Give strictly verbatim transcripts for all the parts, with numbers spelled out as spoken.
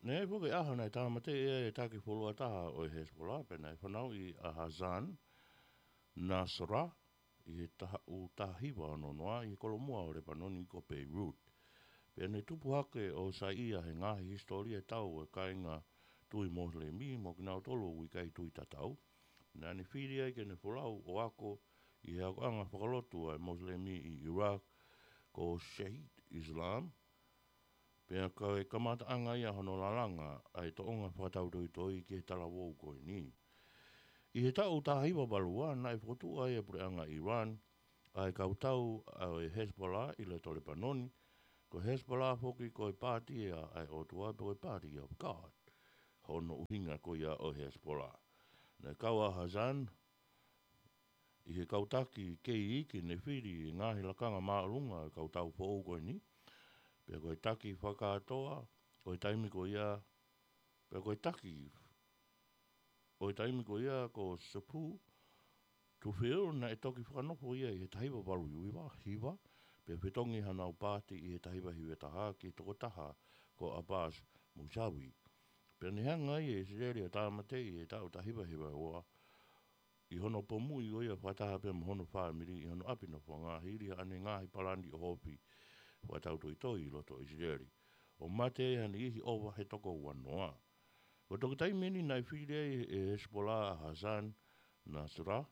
Naʻe foki ʻaho naʻe tāmateʻi ai e taki fuoloa taha ʻo e Hezbollah, pea naʻe fanauʻi ʻa Hassan Nasrallah ʻi he taha ʻū taha hiva ono noa ʻi he kolomuʻa ʻo Lepanoni ko Beirut. Pea naʻe tupu hake ʻo saiʻia he ngaahi hisitōlia tau ʻo e kāinga tui Mosilemi mo kinautolu ʻoku ʻikai tui tatau. Naʻa ne fili ai ke ne folau ʻo ako ʻi he akoʻanga fakalotu ʻa e Mosilemi ʻi Iraq ko Sheikh Islam, pea ko e kamataʻanga ia hono lalanga ʻa e toʻonga fakatautoitoi ki he talavou ko eni. ʻI he taʻu taha hiva valu ua, naʻe fokotuʻu ai e puleʻanga Iran ʻa e kautau ʻa e Hezbollah ʻi loto Lepanoni, ko e Hezbollah foki ko e pāti ia ʻa e ʻOtua pe ko e Party of God. Hono ʻuhinga ko ia ʻo e Hezbollah. Naʻe kau ʻa Hassan ʻi he kau taki kei iiki ne fili e ngaahi lakanga māʻolunga ʻo e kautau foʻou ko eni, pea ko e taki fakakātoa ʻo e taimi ko ia, pea ko e taki ʻo e taimi ko ia ko Sapu Tufil naʻe toki fakanofo ia ʻi he taha hiva valu hiva, hiva, pea fetongi hanau pāti ʻi he taha hiva hiva taha ki he tokotaha ko Abbas Musawi. Pea ne hanga ai ʻe ʻIsileli ʻo tāmateʻi ʻi he taʻu taha hiva hiva ua ʻi hono pomuʻi ko ia fakataha pea mo hono fāmili ʻi hono ʻapi nofoʻanga hili haʻane ngaahi palani ʻohofi fakatautoitoi ʻi loto ʻIsileli, ʻo mate ai ha niʻihi ʻova he toko ua noa. Ko e toki taimi eni naʻe fili ai ʻe Hezbollah ʻa Hassan Nasrallah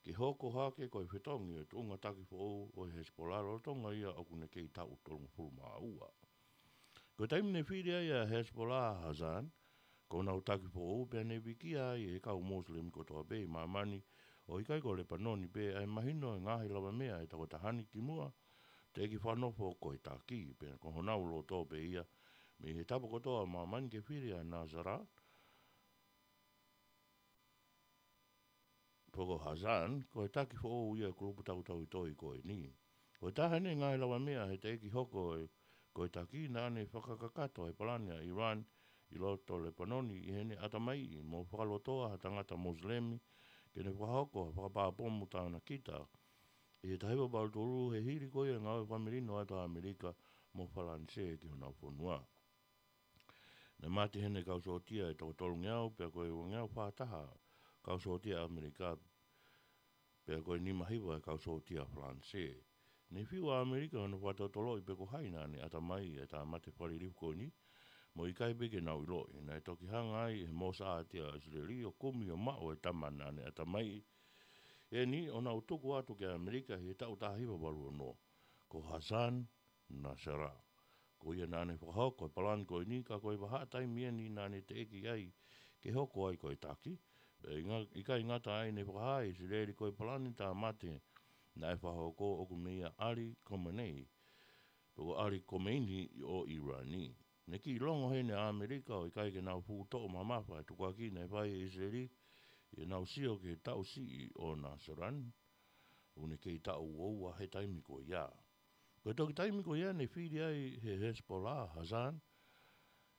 ke hoko hake ko e fetongi ʻo e tuʻunga taki foʻou ʻo e Hezbollah lolotonga ia ʻoku ne kei taʻu tolungofulu mā ua. Ko e taimi ne fili ai ʻa Hezbollah ʻa Hassan ko honau taki foʻou, pea ne vikia ai e kau Mosilemi kotoa pē ʻi māmani, ʻo ʻikai ko Lepanoni pē, ʻa e mahino e ngaahi lavameʻa ʻa e tokotaha ni kimuʻa teʻeki fakanofo ko e taki, pea ko honau loto pē ia mei he tapa kotoa ʻo māmani ke fili ʻa Nasrallah pe ko Hassan ko e taki foʻou ia ʻo e kulupu tautoitoi ko eni. Ko e taha ʻene ngaahi lavameʻa he teʻeki hoko ko e taki, naʻa ne fakakakato e palani ʻa Iran ʻi loto Lepanoni ʻi heʻene ʻatamaiʻi mo fakalotoa ha tangata Mosilemi ke ne fakahoko ha fakapā pomu tānakita ʻi he taha hiva valu tolu, he hili ko ia e ngāue fakamelino atu ʻa ʻAmelika mo Falanisē ki honau fonua. Naʻe mate heʻene kau sōtia ʻe toko tolungeau, pea ko e uangeau fā taha kau sōtia ʻAmelika, pea ko e nima hiva e kau sōtia Falanisē. Ne fiu ʻa ʻAmelika hono fakatotoloʻi pe ko hai naʻa ne ʻatamaiʻi e tāmate fakalilifu ko eni, mo ʻikai pē ke nau ʻiloʻi. Naʻe toki hanga ai ʻe he Mōsāti ʻa ʻIsileli ʻo kumi ʻo maʻu e tama naʻa ne ʻatamaiʻi eni ʻo nau tuku atu ki ʻAmelika ʻi he taʻu taha hiva valu ono, ko Hassan Nasrallah. Ko ia naʻa ne fakahoko e palani ko eni, ka ko e vahaʻa taimi eni naʻa ne teʻeki ai ke hoko ai ko e taki. Pea ʻikai ngata ai, ne fakahā ʻe ʻIsileli ko e palani tāmate naʻe fakahoko ʻoku meia ʻAli Khamenei, pe ko ʻAli Khomeini ʻo ʻIlani. Ne kiʻi longo heni ʻa ʻAmelika ʻo ʻikai ke nau fuʻu toʻo mamafa e tukuakiʻi naʻe fai ʻe ʻIsileli ʻi heʻenau sio ki he taʻu siʻi ʻo Nasrallah, ʻoku ne kei taʻu ua ua he taimi ko ia. Ko e toki taimi ko ia ne fili ai ʻe Hezbollah ʻa Hassan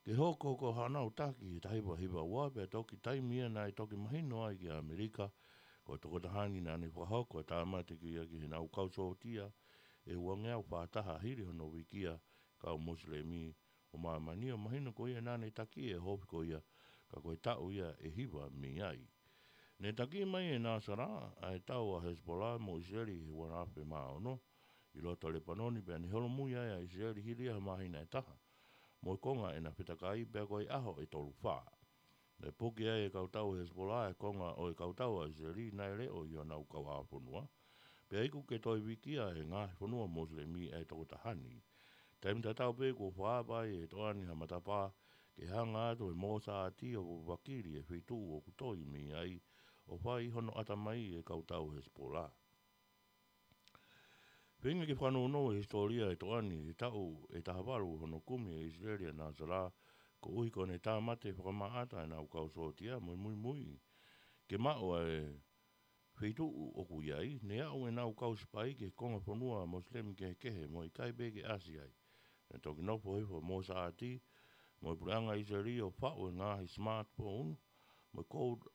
ke hoko ko hanau taki he taha hiva hiva ua, pea toki taimi ia naʻe toki mahino ai ki ʻAmelika ko e tokotaha ni naʻa ne fakahoko e tāmate ko ia ki heʻenau kau sōtia ʻe uangeau fā taha hili hono vikia e kau Mosilemi ʻo māmani, ʻo mahino ko ia naʻa ne taki e ʻohofi ko ia, ka ko e taʻu ia ʻe hiva mei ai. Ne taki mai ʻe Nasrallah ʻa e tau ʻa Hezbollah mo ʻIsileli he ua afe mā ono ʻi loto Lepanoni, pea ne holomui ai ʻa ʻIsileli hili ha māhina ʻe taha mo e konga ʻena fetakai, pea ko e ʻaho ʻe tolu fā. Ne puke ai e kau tau Hezbollah e konga ʻo e kau tau ʻa ʻIsileli naʻe leʻo ʻi honau kauʻāfonua, pea iku ke toe vikia e ngaahi fonua Mosilemi ʻa e tokotaha ni. Taimi tatau pē kuo fakaava ai ʻe he toʻa ni ha matapā ke hanga atu ʻe he Mōsāti ʻo vakili e feituʻu ʻoku toi mei ai ʻo fai hono ʻatamaiʻi e kau tau Hezbollah. Feinga ke fakanounou e hisitōlia e toʻa ni he taʻu ʻe taha valu hono kumi ʻe ʻIsileli ʻa Nasrallah, koeʻuhi ko ʻene tāmate fakamaʻata ʻenau kau sōtia mo e muimui ke maʻu ʻa e feituʻu ʻoku ʻi ai, ne aʻu ʻenau kau sipai ki he konga fonua Mosilemi kehekehe mo ʻikai pē ke ʻasi ai. Ne toki nofo hifo ʻa Mōsāti mo e puleʻanga ʻIsileli ʻo faʻu e ngaahi smartphone mo e code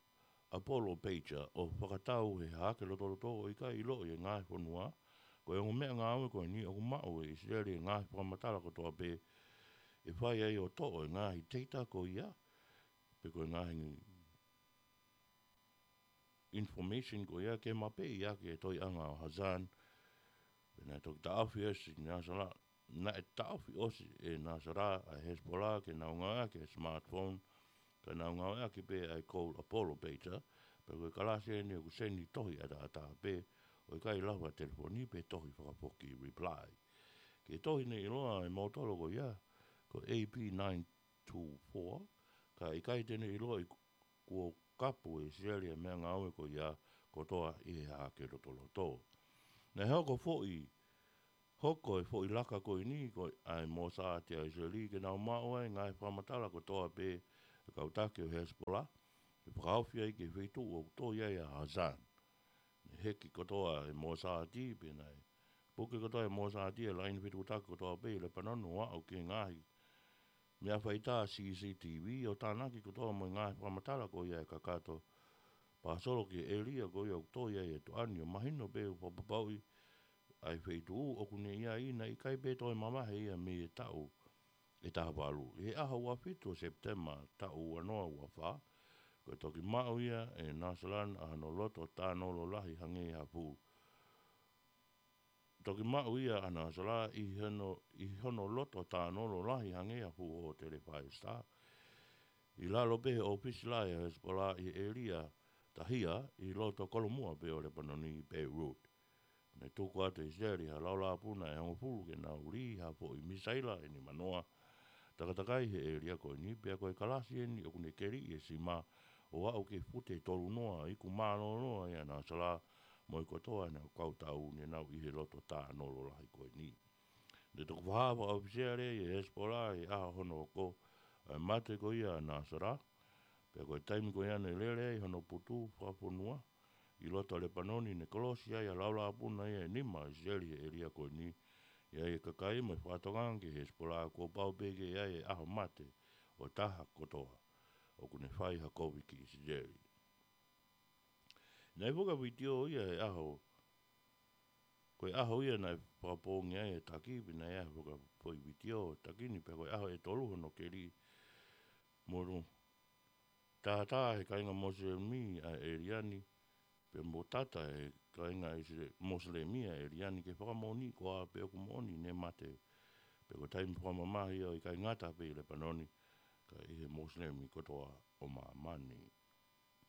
Apollo pager ʻo fakatau he hahake lotoloto ʻo ʻikai ʻiloʻi ʻe he ngaahi fonua. Ko e ongo meʻangāue ko eni ʻoku maʻu ʻe ʻIsileli e ngaahi fakamatala kotoa pē ʻe fai ai ʻo toʻo e ngaahi data ko ia, pe ko e ngaahi information ko ia ke mapeʻi ʻaki e toiʻanga ʻo Hassan. Pea naʻe toki taʻofi ʻosi ʻe Nasrallah, naʻe taʻofi ʻosi ʻe Nasrallah ʻa e Hezbollah ke nau ngāueʻaki e smartphone, ka nau ngāueʻaki pē ʻa e Call Apollo pager, pea ko e kalasi eni ʻoku seni tohi ʻataʻatā pē, ʻo ʻikai lava telefoni pe tohi fakafoki reply. Ko e tohi naʻe ʻiloa ʻe moutolu ko ia ko e A P nine two four, ka ʻikai te ne ʻiloa ʻi kuo kapu ʻe ʻIsileli e meʻangāue ko ia kotoa ʻi he hahake lotoloto. Naʻe hoko foʻi, hoko e foʻi laka ko eni ko e ʻa e Mossad ʻa ʻIsileli ke nau maʻu ai e ngaahi fakamatala kotoa pē ʻa e kau taki ʻo Hezbollah, ke fakahaofi ai ki he feituʻu ʻoku tō ai ʻa Hassan. Naʻe heki kotoa e Mossad, pea naʻe puke kotoa e Mossad e laine fetuʻutaki kotoa pē ʻi Lepanoni ʻo aʻu ki he ngaahi meʻa faitā C C T V ʻo tānaki kotoa mo e ngaahi fakamatala ko ia ʻe kakato pāsolo ki he ʻēlia ko ia ʻoku tō ai e tuʻa ni, ʻo mahino pē ʻoku fakapapauʻi ʻa e feituʻu ʻoku ne ʻi ai, naʻe ʻikai pē toe mavahe ia mei he taʻu ʻe taha valu. ʻI he ʻaho ua fitu ʻo Sepitema taʻu ua noa ua fā, ko e toki maʻu ia ʻe Nasrallah ʻa hono loto tānolo lahi hangē ha fuʻu, toki maʻu ia ʻa Nasrallah ʻi hono, ʻi hono loto tānolo lahi hangē ha fuʻu hōtele five star, ʻi lalo pē he ʻōfisi lahi ʻa e Hezbollah ʻi he ʻēlia tahia ʻi loto kolomua pē ʻo Lepanoni, Beirut. Naʻe tuku atu ʻe ʻIsileli ha laulāpuna ʻe hongofulu ke nau lī ha foʻi misaila ʻe nimanoa takatakai he ʻēlia ko eni, pea ko e kalasi eni ʻoku ne keliʻi e sima ʻo aʻu ki he fute tolu noa, iku mālōlō ai ʻa Nasrallah mo e kotoa ʻene kau tau ne nau ʻi he loto tānolo lahi ko eni. Naʻe toki fakahā fakaʻofisiale ʻe Hezbollah ʻi he ʻaho hono hoko ʻa e mate ko ia ʻa Nasrallah, pea ko e taimi ko ia naʻe lele ai hono putu fakafonua ʻi loto Lepanoni, ne kolosi ai ʻa e laulāpuna ia ʻe nima ʻa ʻIsileli he ʻēlia ko eni. ʻI ai e kakai mo e fakatokanga ki he Hezbollah kuo pau pē ke ʻi ai e ʻaho mate ʻo e taha kotoa ʻoku ne fai ha kovi ki ʻIsileli. Naʻe fuka vitiō ia he ʻaho, ko e ʻaho ia naʻe fakapoongi ai e taki, pea naʻe ʻi ai e fuka foʻi vitiō taki ni, pea ko e ʻaho ʻe tolu hono keli molu tātā he kāinga Mosilemi ʻa e ʻēlia ni, pea mo tata he kāinga ʻIsile-, Mosilemi ʻa e ʻēlia ni ke fakamoʻoni ko ā pē ʻoku moʻoni ne mate. Pea ko e taimi fakamamahi ʻo ʻikai ngata pē ʻi Lepanoni, ka ʻi he Mosilemi kotoa ʻo māmani.